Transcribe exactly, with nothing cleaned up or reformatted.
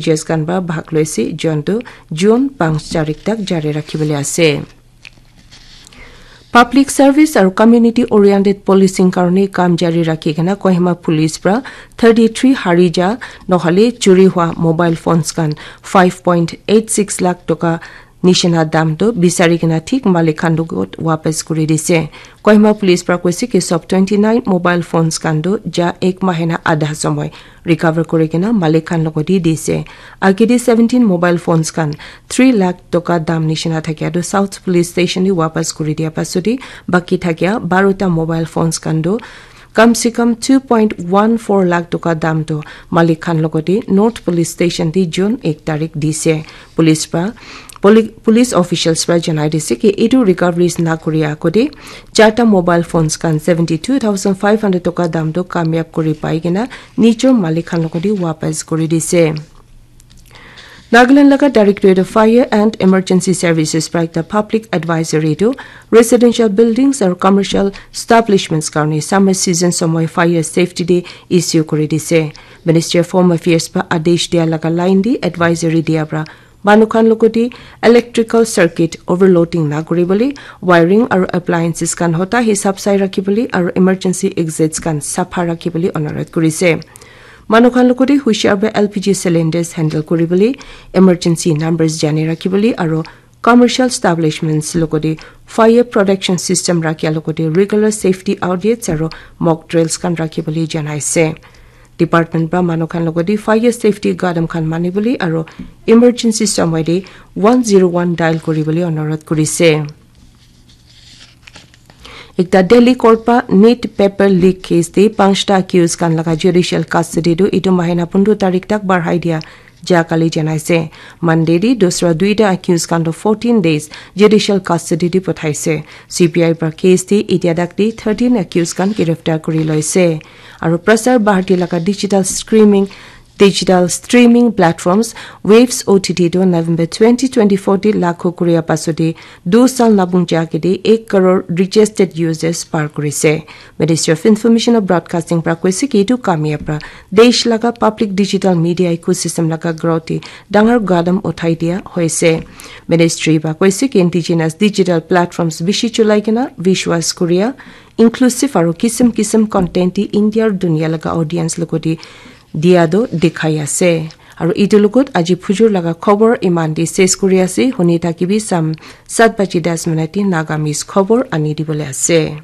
Judges khan para bhag loise, jontu June panch tarik tak jari rakhibole ase. Public service aru community oriented policing karone kam jari rakhi kena Kohima police para thirty three harija nohole churi hua mobile phones khan five point eight six lakh toka nishina dam tu bisari kena thik malik khan logot wapas kuri dise. Kohima police para koise ki sob twenty nine mobile phones khan tu ja ek mahina adha somoy recover kuri kena malik khan logot di dise. Agede seventeen mobile phones khan three lakh toka dam nishina thakia tu South Police Station di wapas kuri dia pasudi baki thakia barota mobile phones khan tu kam se kam two point one four lakh toka dam tu malik khan logot di North Police Station di June ek tarik dise. Police para poli- police officials para janai dise ki etu recoveries na kuri agode charta mobile phones khan seventy two thousand five hundred toka dam tu kamyab kuri pai kena nijor malik khan logot di wapas kuri dise. Nagaland laga Directorate of Fire and Emergency Services para ekta public advisory tu residential buildings aru commercial establishments karone summer season somoy fire safety day issue kuri dise. Ministry of Home Affairs para adesh dia laga line di advisory dia para manu khan logot di electrical circuit overloading na kuri bole, wiring aru appliances khan hota hisab sai rakhi bole aru emergency exits khan sapha rakhi bole onurodh kuri se. Manu khan logot di hushar para L P G cylinders handle kuri bole, emergency numbers jani rakhi bole aru commercial establishments logot di fire protection system rakhia logot di regular safety audits aru mock drills khan rakhi bole janai se. Department para manu khan logot di fire safety gadam khan mani bole aru emergency somoy di one zero one dial kuri bole onurodh kuri se. Ekta Delhi court pa neet paper leak case te panchta accused khan laga judicial custody tu etu mahina pundro tarik tak barhai dia ja kali janai se. Monday di dusra duita accused khan tu fourteen days judicial custody di pathai se. C B I para case te etia tak di thirteen accused khan giriftar kuri loi se. Aru Prasar Bharati laga digital streaming digital streaming platforms Waves O T T tu November twenty twenty-four te lagu kuria pasode du sal nabung jagede ek crore registered users par kurise. Ministry of Information and Broadcasting para koise ki etu kamya para desh laga public digital media ecosystem laga growth te dangar gadam uthai dia hoise. Ministry para koise ki indigenous digital platforms bishi chulai kena visualize kuria inclusive aru kisim kisim content te India aru dunia laga audience logote dia tu dikhai ase. Aru etu logot aji phujur laga khobor iman te ses kuri ase. Huni thakibi sam sat baji das minute te Nagamese khobor ani dibole ase.